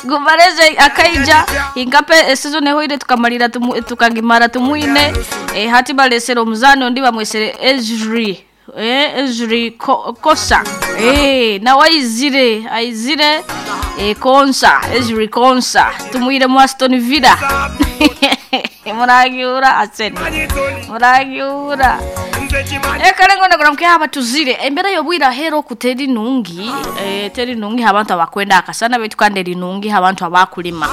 Gumareze akaija inkape season ehoire tukamalira tumu, tukagimara tumwine e, hati balesere omuzani ondi bamwesere Ezri Ezri Kosa nawe aizire aizire Konsa Ezri Konsa tumwire mu Aston Villa muragiura Arsenal muragiura Kare ngo ndagura mke aba tuzire embera y'obwire ahera oku teri nungi teri nungi abantu abakwenda akasana baitu kandi eri nungi abantu abakulima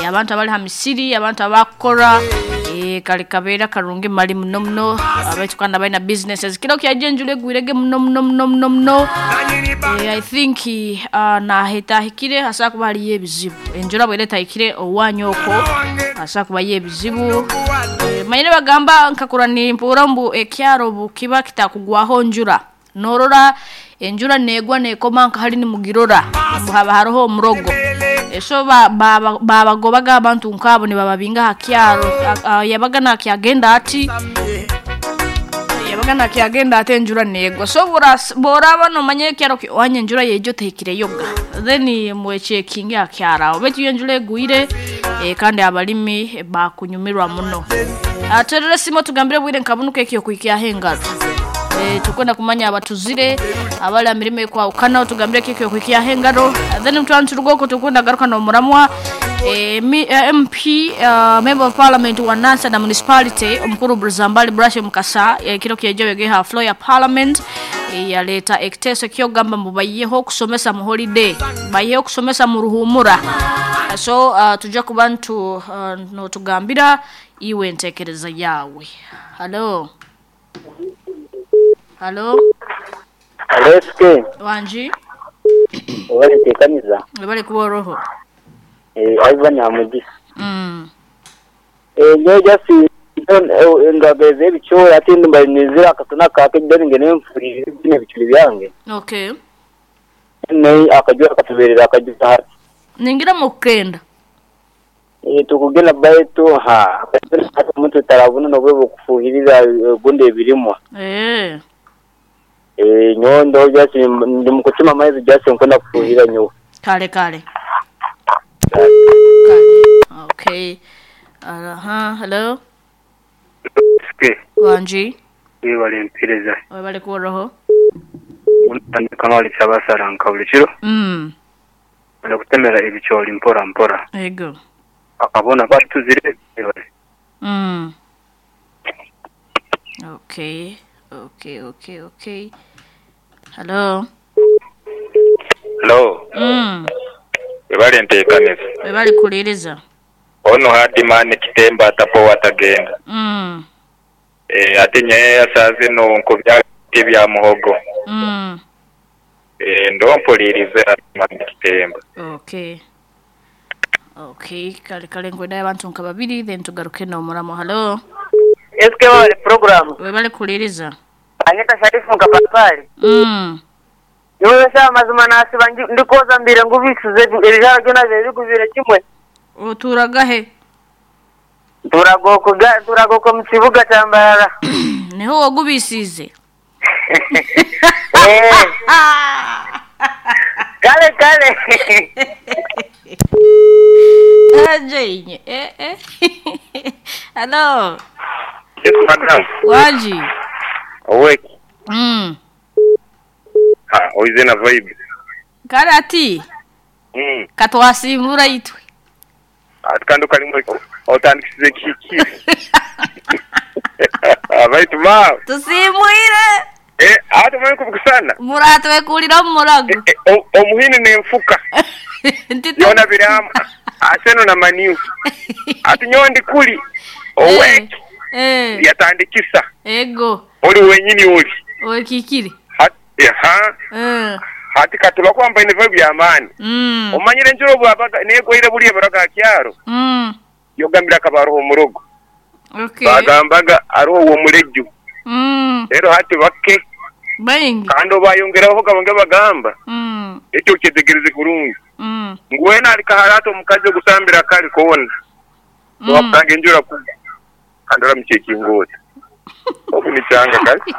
abantu abali ha misiri abantu abakukora kare kabeera karungi mali muno muno baitu kandi abaine businesses kiro kyaija enjura egwirege muno muno muno muno muno I think nahetahikire hasobola kuba hariyo ebizibu enjura bwera etahikire owanyu okwo hasobola kubayo ebizibu manyire bagamba nkakura nimpuura mbu ekyaro obu kiba kitakugwaho njura norora enjura negwa nekoma nka hari nimugirora mbu haba haroho omurogo so babagobaga abantu nkabo nibababinga aha kyaro yabaga nakyagenda ati yabaga nakyagenda ati enjura negwa so boraba nomanya ekyaro wanya enjura yejo tehikireyoga then mwechekinge aha kyaro aho baitu iyo enjura egwire kandi abalimi bakunyumirwa muno. Terera simu tugambire bwire nkabunuka ekyo kuhikyaho engaro tukwenda kumanya abatuzire abali amirimo ekwahukana tugambire ekyo kuhikyaho engaro then mutwantu rugoko tukwenda garuka n'omuramwa MP Member of Parliament wa Nansana Municipality omukuru Buzambali Brashe Mukasa kiro kyejo yegeha floor ya Parliament yaleta ekiteeso kyogamba mbu bayiyeho okusomesa mu holiday bayiyeho okusomesa mu ruhumura so tujja kuba notugambira iwe entekereza yawe. Halo halo. Halo SK. Wanji. Wabale tekaniza. Wabale kuba oroho. Ivan Hamugisa. Nyowe just ngageze ebicoori ati ndumva nizire akasana kaake then ngende nfurire bino ebicuri byange. Okay. Naye akajura katuberera akajura hati. Ningira mukenda. Tukugenda baitu ha akasana omuntu tarabona nobwe bukufuhirira gundi ebirimwa. Nyowe ndo just ndi mukutima amaizi just nkwenda kufuhira nyowe. Kale kale. Kale. Okay. Aha, hello. SK. Wanji. Webale mpereza. Webale kuroho. Kamali kyabasara nka buli kiro. Ndakutemera ebicoori mpora mpora. Ego. Akabona batuzire webale. Okay. Okay, okay, okay. Hello. Hello. Webale nteekaniza. Webale kuliriza. Ono Hadimani kitemba atapo watagenda. Ate nyeya sazi no nkubya bya muhogo. Ndo mpulirize Hadimani kitemba. Okay. Okay, kale kale ngwenda abantu nka babiri then tugaruke no muramo. Hello. SK wale program. Webale kuliriza. Anyeta Sharifu nkapapali. Niwe sha mazima nasiba ndikoza mbire ngubisuze ebijara byona bibigubire kimwe. Oturagahe? Turagoko mu kibuga cya Mbarara. Niho wagubisize. Kale kale. Aje Hello. Yes, madam. Waji. Awake. Ha, oize na vibe. Karati. Katwasimbura itwe. Atkando kalimo otandikisize kiki. Abaitu ma. Tusimwire. Ate mwe kubukusana. Muratwe kulira murago. Omuhini nenfuka. Yona biramu. Aseno na maniu. Ati nyondi kuli. Owek. Yatandikisa. Ego. Oli wenyini oli. Owekikire. Hati katula kwamba ine vibe ya amani. Omanyire njuro bwabaga negwaire buli baraga kyaro. Yogambira kabaroho murogo. Okay. Bagambaga aroho wo muleju. Rero hati bake. Baingi. Kandi bayongeraho kabonge bagamba. Ekyo kyetegereze kurungi. Ngwena alikaharato omukazi ogusambira kali kona. Wakange njura ku. Andora mchekingota. Okunichanga kali.